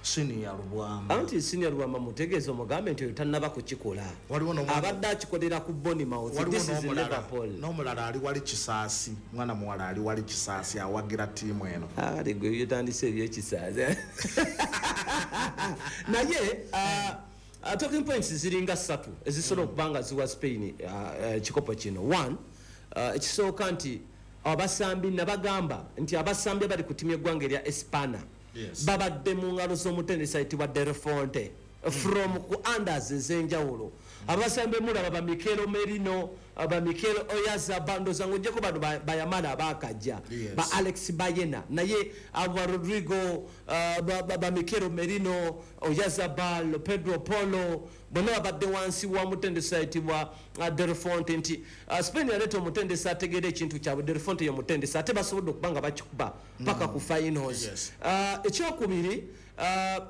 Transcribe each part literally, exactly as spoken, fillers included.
Senior Lubwama. Anti Senior Lubwama mutegeeza, omugambe nti oyo tannaba kukikola. Waliwo n'omwana- Abadde akikolera ku Bournemouth. Waliwo This is n'omulala- Liverpool. N'omulala ali wali Kisaasi, mwana muwala ali wali Kisaasi awagira ttiimu eno. Kale gwe byotandise ebyekisaaza. Naye ah, ah, talking points ziringa ssatu ezisobola okuba nga ziwa Spain ah, eh, ekikopo kino. One, ah, ekisooka nti abasambi, nabagamba nti abasambi abali ku ttiimu y'eggwanga erya Espana Yes. babadde mu ngalo z'omutendesi ayitibwa De la Fuente from ku unders ez'enjawulo. Abasambi mulaba ba Mikel Merino, ba Mikel Oyarzabal, ndowooza ng'ojjako bano ba- bayamala abakajja, Yes. ba Alex Bayena, naye abo ba Rodrigo, uh, ba, ba, ba Mikel Merino, Oyarzabal, Pedro Porro, bonna babadde wansi wa mutendesi ayitibwa uh, De la Fuente. Nti uh, Spain yaleeta omutendesi ategeera ekintu kyabwe. De la Fuente ye mutendesi, ate basobodde okuba nga bakikuba paka ku finals. Yes. uh, ekyokubiri uh,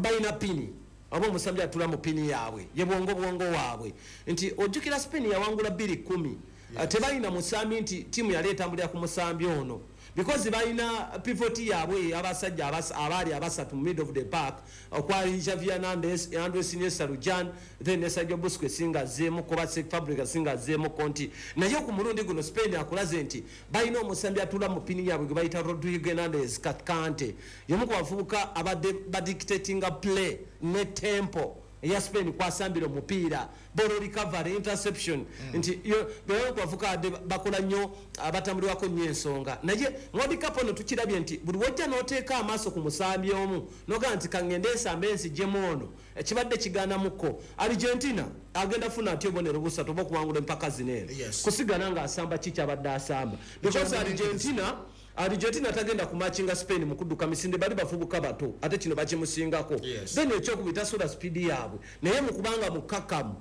balina pini oba omusambi atula mu pini yaabwe, ye bwongo bwongo waabwe. Nti ojjukira Spain yawangula bbiri kumi. Uh, tebalina musambi nti tiimu yali etambulira ku musambi ono, because balina pivot yaabwe, abasajja abas- abaali abasatu mu mid of the park, okwali Xavi Hernandez, Andres Iniesta Lujan, then ne Sergio Busquets nga azzeemuko, ba Cesc Fabregas nga azzeemuko. Nti naye ku mulundi guno Spain akulaze nti balina omusambi atula mu pini yaabwe gwe bayita Rodrigo Hernandez Cascante, y'omu ku bavubuka abadde badictatinga play ne tempo eya Spain kwasambira omupiira, ball recovery, interception. Nti yo bebamu ku bavubuka abadde bakola nnyo, abatambulirwako nnyo ensonga. Naye World Cup ono tukirabye nti buli wojja n'oteeka amaaso ku musambi omu nogamba nti kaŋŋende ensambe enzijjemu ono, ekibadde kigaanamuko. Argentina agenda funa atya obubonero busatu oba okuwangula empaka zino eno? Yes. Kusigala ng'asamba ki kyabadde asamba, because argentina argentina tagenda kumatchinga Spain mu kudduka misinde, bali bavubuka bato ate kino bakimusingako. Yes. Then ekyokubiri, tasobola speed yaabwe, naye mu kubanga mukakamu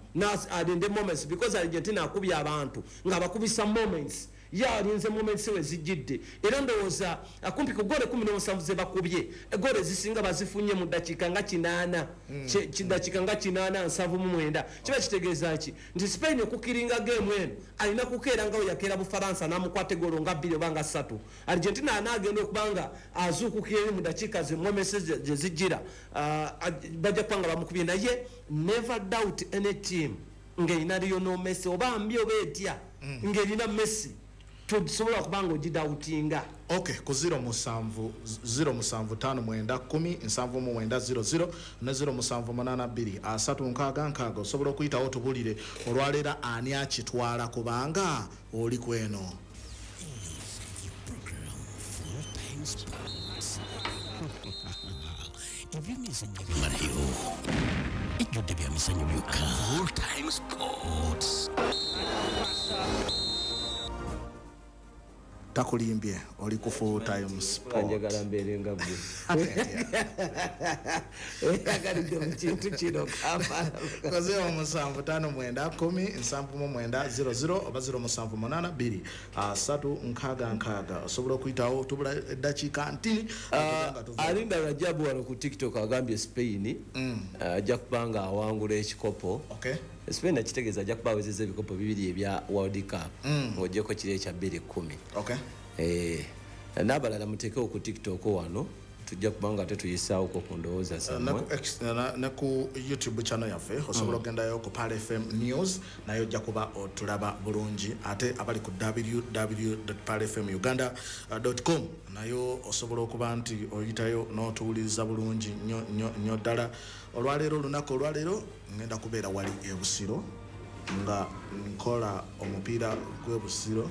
alinde moments, because Argentina akubye abantu ng'abakubisa moments, ye alinze moments we zijjidde. Era ndowooza kumpi ku gole kumi n'omusanvu ze bakubye, egole ezisinga bazifunye mu ddakiika nga kinaana, Ki- ki- ddakiika nga kinaana, nsanvu mu mwenda. Kiba kitegeeza ki? Nti Spain okukiringa game eno alina kukeera nga we yakeera Bufaransa n'amukwata egolo nga bbiri oba nga ssatu. Argentina anaagenda okuba nga azuukukira eri mu ddakiika ze moments gye gye zijjira, ah, bajja kuba nga bamukubye. Naye never doubt any team ng'erina Lionel Messi, oba mbi oba etya, ng'erina Messi tosobola kuba nga ogidoubtinga. Ok, ku zero musanvu zero musanvu ttaano mwenda kkumi nsanvu mu mwenda zero zero ne zero musanvu munaana bbiri asatu nkaaga nkaaga, osobola okuyitawo tubulire olwaleero ani akitwala, kubanga oli kweno. Program Full Time Sports. Ebyemizannyo bimalayo, ejjudde bya mizannyo byokka. Full Time Sports. Takulimbye, oli ku Full Time Sport. Njagala mbeere nga gwe, oyagalidde mu kintu kino Kampala. Ku zero musanvu ttaano mwenda kkumi nsanvu mu mwenda zero zero oba zero musanvu munaana bbiri asatu nkaaga nkaaga, osobola okuyitawo. Tubula eddakiika ntini nga tuva. Alinda Rajabu wano ku TikTok agambye Spain ajja kuba nga awangula ekikopo. Okay. Spain akitegeeza ajja kuba awezezza ebikopo bibiri ebya World Cup, ng'ogyeko kiri ekya bbiri kumi. Okay. Eh, n'abalala muteekewo ku TikTok wano, tujja kuba nga tetuyisaawoko ku ndowooza ne zammwe. ku X- na- ne ku YouTube channel yaffe osobola ogendayo ku Pearl F M News, naye ojja kuba otulaba bulungi. Ate abali ku W W W pearl F M uganda com nayo osobola okuba nti oyitayo n'otuwuliriza bulungi nnyo nnyo nnyo ddala. Olwaleero, olunaku olwaleero ngenda kubeera wali e Busiro nga nkola omupiira gw'e Busiro.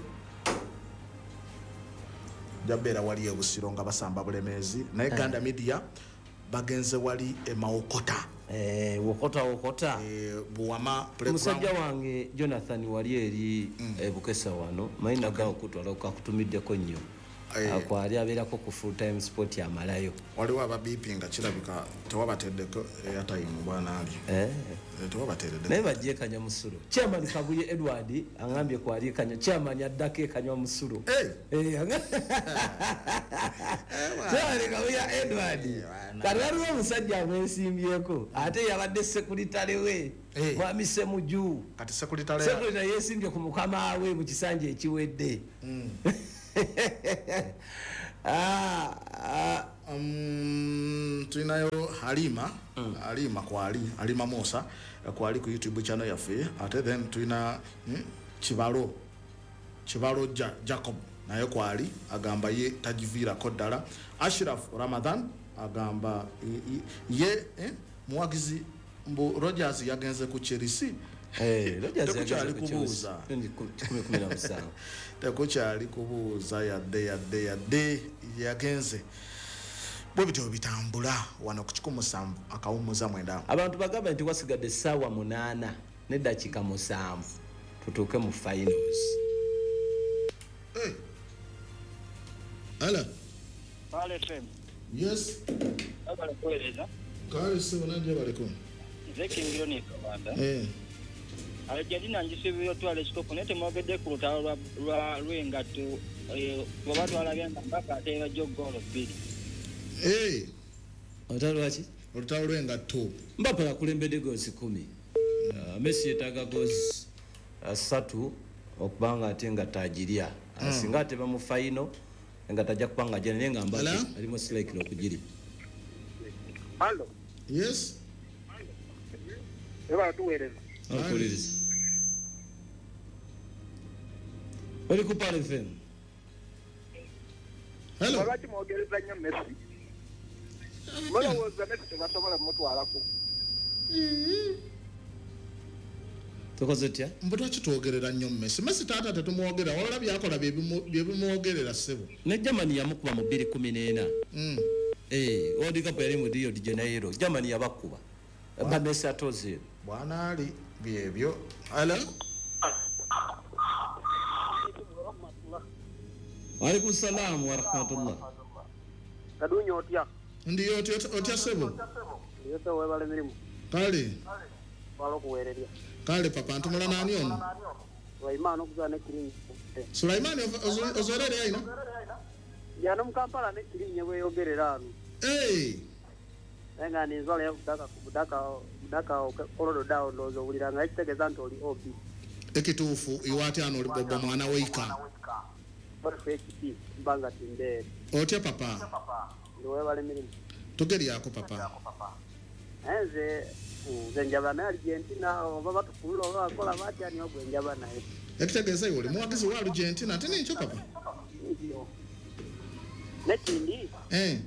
Nja beera wali e Busiro nga basamba Bulemeezi, naye Ganda Media bagenze wali e Mawokota. Eh, wokota wokota. Eh, Buwama playground. Musajja wange Jonathan wali eri e Bukesa wano, manyi nagawo okutwala kakutumiddeko nnyo. Eh. Akwali abeerako ku Full Time Sport amalayo. Waliwo ababipi nga kirabika tewabateddeko airtime, bwana ali. Eh. Eh, tewabateereddeko. Naye bajje kanya musulo. Chairman Kabuye Edward angambye kwali kanya chairman addako ekanywa musulo. Eh. Eh, anga- Chairman Kabuye Edward, kati waliwo omusajja amwesimbyeko, ate yabadde sekuritale we, Eh. mwami Semuju. Kati sekuritale Sekuritale yesimbye ku mukama we mu kisanja ekiwedde. Ah, ah, um, tulinayo Halima mm. Halima kwali Halima Musa kwali ku YouTube channel yaffe, ate then tulina mm, Kibalo Kibalo ja, Jacob naye kwali agamba ye tajiviirako ddala. Ashraf Ramadan agamba ye eh, muwagizi mbu Rogers yagenze ku Chelsea. Eh, Rogers tekukyali kubuuza tekukyali kubuuza yadde yadde yadde yagenze. Bwe bityo bitambula wano ku kikumi musanvu akawummuza mwenda. Abantu bagamba nti wasigadde essaawa munaana n'eddakiika musanvu tutuuke mu finals. Hey. Hello. Pale F M. Yes. Abale kueleza. Kale sebo nanje baleko. Nze kingiro ni Kabanda. Eh. Argentina njisubira twala ekikopo naye temwogedde ku lutalo lwa lw'engatto bwe batwala mpaka ateeba jjo ggoolo bbiri. Eh. Olutalo lwaki? Olutalo lw'engatto. Mbappe akulembedde goozi kumi. Uh, Messi yeetaaga goozi ssatu okubanga ate nga tagirya. Mm. Singa ateba mu final nga tajja kubanga ajja naye nga Mbappe ali most likely okugirya. Hello. Yes. Eba tuweereza. Okuwuliriza. Oli ku Pal F M. Hello. Lwaki mwogereza nnyo Messi? Mulowooza Messi tebasobola kumutwalako? Tukoze tutya? Mbu lwaki twogerera nnyo Messi? Messi taata tetumwogera, wabula byakola bye bimwogerera ssebo. Ne Germany yamukuba mu bbiri kumi n'ena. Mm. Eh, World Cup yali mu Rio de Janeiro. Germany yabakuba. Ba Messi atoze. Bwana ali byebyo. Hello. Wa alaykum salaam wa rahmatullah. Kadunyo otya? Ndiyo otya otya ssebo. Ndiyo ssebo webale mirimu. Kale. Walo kuweererya. Kale papa ntumula nani ono? Sulaiman okuza ne kirinyi. Sulaiman ozorere aina? Yano mu Kampala ne kirinyi bweyogerera ano. Eh. Nga ninzwala budaka budaka budaka kolodo dawo ndowooza owulira nga ekitegeeza nti oli O B. Ekituufu iwe ate ano oli bobba mwana weika. H P mbanga timbeere. Otya papa? Ndi webale mirimu. Tugeryako papa. Nze nze njaba naye Argentina oba batukulula oba bakola batya niyo gwe njaba naye. Ekitegeeza iwe oli muwagizi wa Argentina ate nikyo papa? Ndiyo. Nekindi? Eh.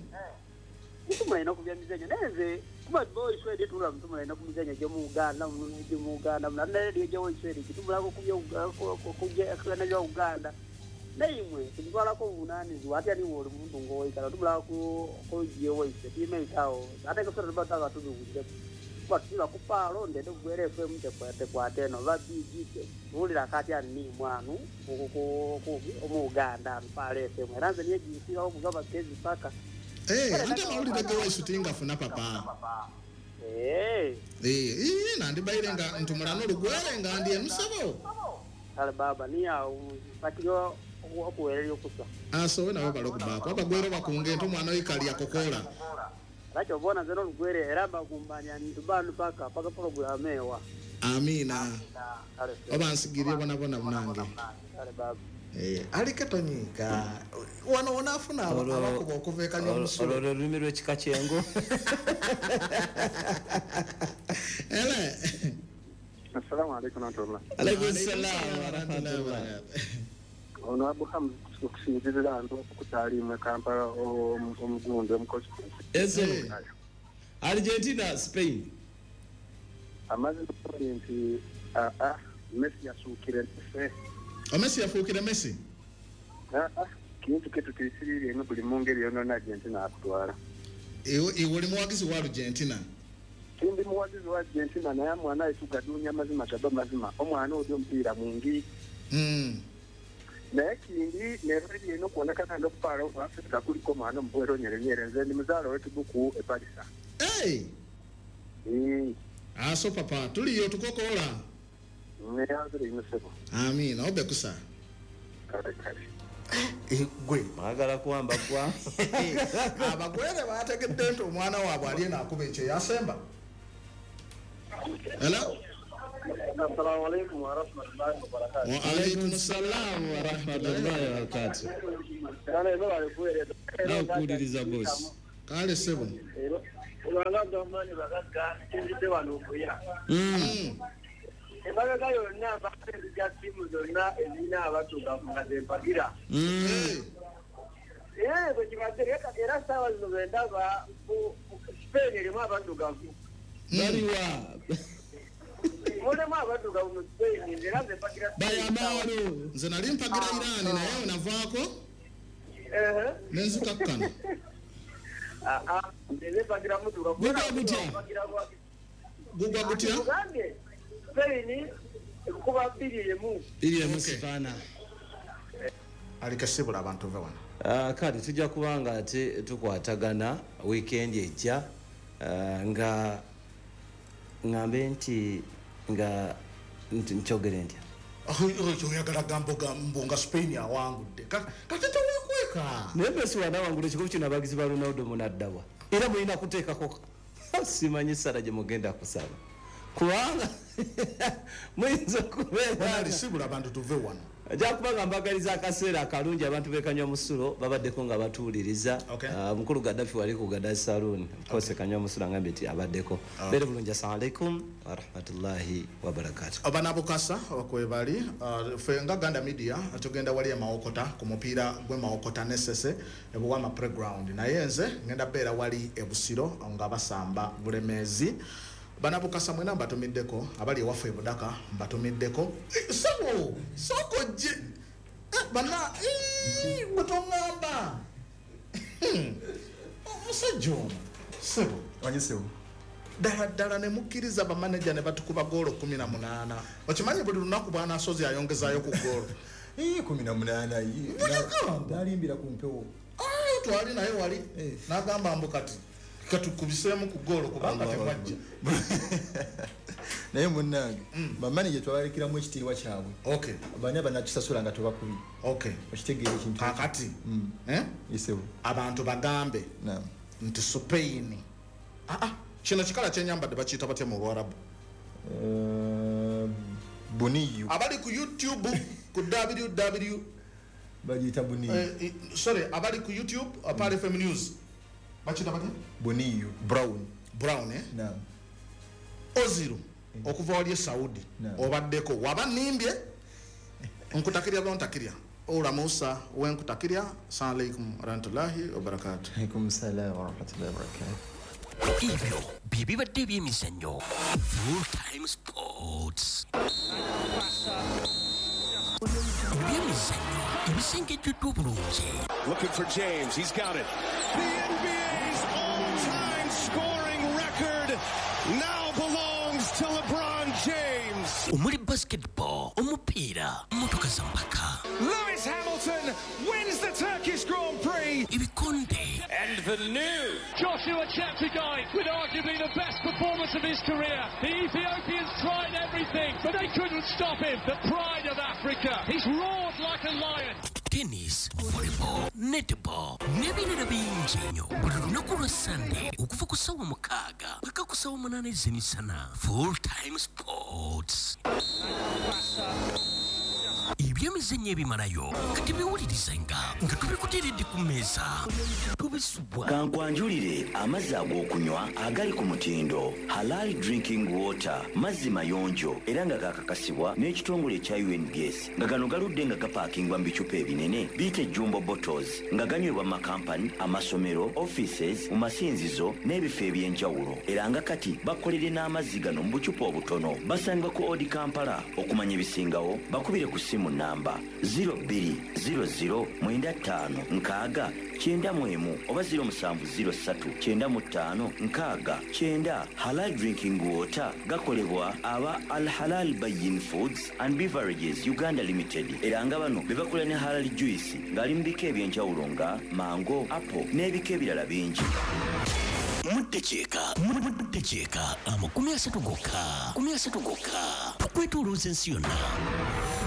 Mutumulaina ku byamizannyo naye nze kuba boyiswedi tula mutumulaina ku mizannyo gy'omu Uganda gy'omu Uganda naye gyoyiswedi kitubulako ku bya Uganda. Naye imwe tubitwalako obuvunaanyizibwa ate niwe oli muntu ng'oyikala tubulako ku gyewoyise tiimeitawo ate kasita tuba tutaka tubiwulire kuba tutula ku paalo ndende kugwera F M tekwata eno oba B G tuwulira kati ani mwanu omu Uganda ano Paalo F M era nze niye ginsiirawo okuva bagezi paka. Eh, ate amawulire g'ewaisu tingafuna papa. Eh. Eh, eh nandibaire nga ntumula n'olugwere nga ndi emusabo. Kale baba niyawo bakiriyo okuweerera okusa. Asowe nabo balokubaako abagwere bakunge nti omwana oikali akokola. Lwaki obona nze n'olugwere era mbakumbanya ntubanu paka paka pulogulaamu ewa. Amiina. Oba nsigirye bonabona munange. Kale baba. Eh, alike tonyiga. Wano wonafuna abakuba okuva ekanywa omusulo. Olwo lulimi lw'ekika ky'engo. Ele. Assalamu alaikum wa rahmatullah. Alaikum salam wa rahmatullah. Ono Abu Hamza okusinziirira nti okutaalimu Kampala omugundi omukozi. Ese. Argentina Spain. Amazima nti a a Messi yasuukire Messi. Messi yafuukire Messi? Ah ah, kintu ketu tuyisirire eno buli mu ngeri yonna Argentina akutwala. Iwe iwe oli muwagizi wa Argentina? Ndi muwagizi wa Argentina naye mwana aitugadunya mazima gaba mazima. Omwana oli omupiira mungi. Mm. Naye kindi nereri eno kuonekana n'okupaala Afrika kuliko omwana omubuwero nyerenyere nze ndi muzaala w'ekibuku e Palisa. Hey! Mm. Aso papa tuliyo tukokola. Neyanzire ino ssebo. Amiina obe kusa. Kale kale. Gwe mwagala kuwamba gwa abagwere bategedde nti omwana waabwe ali eno akuba ekyo yasemba. Hello. Assalamu alaikum wa rahmatullahi wa barakatuh. Wa alaikum salam wa rahmatullahi wa barakatuh. Kale bali kuweereza. Nakuwuliriza boss. Kale sebo. Olwanga gavumenti bagagga tuzidde wano okuya. Emabega yonna bakozesa ttiimu zonna ezirina abaddugavu nga zempagira. Ee bwe kibadde era ssaawa zino bwe ndaba Spain erimu abaddugavu. Baliwa. Mulimu abaddugavu mu Spain era nze mpagira. Bayamaalo. Nze nali mpagira Iran naye navaako. Nenzikakkana. Nze mpagira muddugavu. Gugwa gutya? Gugwa gutya? Spain ekuba bbiri emu. Bbiri emu sifaana. Alikasibula abantu ve wano. Kale tujja kubanga ate tukwatagana weekend ejja nga ngambe nti nga nkyogere ntya. Oyagala gambo nga Spain awangudde. Kati teweekweka. Naye Messi wanaawangula ekikopo kino abagizi ba Ronaldo munaddawa. Era mulina kuteekako simanyi ssala gye mugenda kusaba. Kubanga muyinza okubeera. Alisibula abantu tuve wano. Ajja kuba nga mbagaliza akaseera akalungi abantu b'e Musulo babaddeko nga batuwuliriza. Mukulu Gaddafi wali ku Gaddafi Saloon. Of course Kanywa Musulo angambye nti abaddeko. Beere bulungi, assalamu alaikum wa rahmatullahi wa barakatuh. Abanabukasa okwebali ffe nga Ganda Media tugenda wali e Mawokota ku mupiira gw'e Mawokota ne Ssese e Buwama Playground. Naye nze ngenda beera wali e Busiro nga basamba Bulemeezi. Banabukasa mwena mbatumiddeko abali ewaffe e Budaka mbatumiddeko. Sebo soko je bana gwe toŋŋamba omusajja ono sebo wanye sebo ddala ddala ne mukkiriza bamaneja ne batukuba goolo kumi na munaana. Okimanyi buli lunaku bw'anaasozi ayongezaayo ku goolo kumi na munaana ndalimbira ku mpewo. Twali naye wali n'agamba mbu kati katukubiseemu ku goolo kubanga temwajja. Naye munnange bamaneja twabalekeramu ekitiibwa kyabwe. Bani abanatusasula nga tubakubye. Okitegeera ekintu kaakati abantu bagambe nti Spain kino kikala kyenyambadde bakiyita batya mu Luwarabu? Buniyu. Abali ku YouTube ku www bagiyita buniyu. Sorry, abali ku YouTube Pearl F M News bakiyita batya? Buniyu brown. Brown eh? Naam. Oziru okuva wali e Saudi obaddeko waba nnimbye nkutakirya bontakirya Ola Musa wenkutakirya. Assalamu alaikum warahmatullahi wabarakatuh. Alaikum salam warahmatullahi wabarakatuh. Ebyo bye bibadde ebyemizannyo Full Time Sports. Ebyemizannyo ebisengejjeddwa obulungi. Looking for James, he's got it. The N B A's all-time scoring record now belongs to LeBron James. Omuli basketball, omupiira, mmotoka za mpaka. Lewis Hamilton wins the Turkish Grand Prix. Ebikonde. And the new Joshua Cheptegei with arguably the best performance of his career. The Ethiopians tried everything, but they couldn't stop him. The pride of Africa. He's roared like a lion. Tennis, volleyball, netball n'ebirala bingi nnyo buli lunaku lwa Sunday okuva ku ssaawa mukaaga paka ku ssaawa munaana ez'emisana. Full Time Sports. Ebyemizannyo ebimalayo kati biwulirizenga nga tubikuteeredde ku mmeeza tubisubwa. Kankwanjulire amazzi ag'okunywa agali ku mutindo Halal Drinking Water, mazzi mayonjo era nga gakakasibwa n'ekitongole ekya U N B S, nga gano galudde nga gapaakingwa mu bicupa ebinene biyite jumbo bottles, nga ganywebwa mu makampani, amasomero, offices, mu masinzizo n'ebifo eby'enjawulo. Era nga kati bakolere n'amazzi gano mu bucupa obutono. Basangibwa ku Odi Kampala. Okumanya ebisingawo bakubire ku ssimu namba zero bbiri zero zero mwenda ttaano nkaaga kyenda mu emu oba zero musanvu zero ssatu kyenda mu ttaano nkaaga kyenda. Halal Drinking Water gakolebwa aba Al Halal Bayin Foods and Beverages Uganda Limited, era nga bano be bakola ne halal juice ng'ali mu bika eby'enjawulo nga mango, apple n'ebika ebirala bingi. Muddekyeka muddekyeka amakumi asatu gokka makumi asatu gokka tukwetoolooza ensi yonna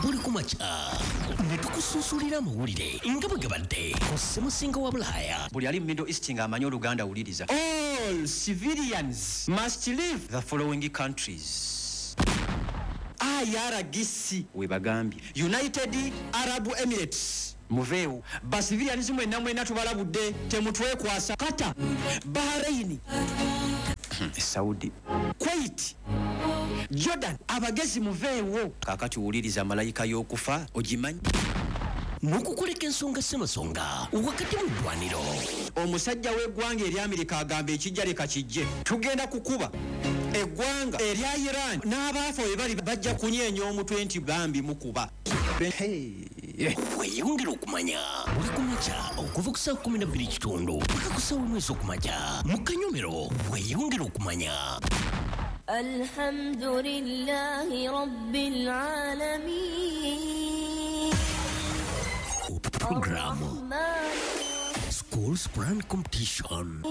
buli ku makya ne tukusunsulira amawulire nga bwe gabadde ku ssemusinga wa Bulaaya. Buli ali mu Middle East ng'amanyi Oluganda wuliriza. All civilians must leave the following countries. I R G C we bagambye United Arab Emirates, Muveewo. Ba civilians mwenna mwenna tubalabudde, temutwekwasa. Qatar, Bahrain, Saudi, Kuwait, Jordan, abagezi muveewo. Kaakati wuliriza malayika y'okufa, ogimanyi? N'okukuleka ensonga ssemasonga wakati mu ddwaniro. Omusajja w'eggwanga ery'Amerika agamba ekijja leka kijje, tugenda kukuba eggwanga erya Iran, n'abaafa we bali bajja kunyeenya omutwe nti bambi mukuba. Weeyongera okumanya buli kumakya okuva ku ssaawa kumi na bbiri kitundu paka ku ssaawa emu ez'okumakya mu kanyomero. Weeyongera okumanya. الحمد لله رب العالمين. Program Schools Quran Competition.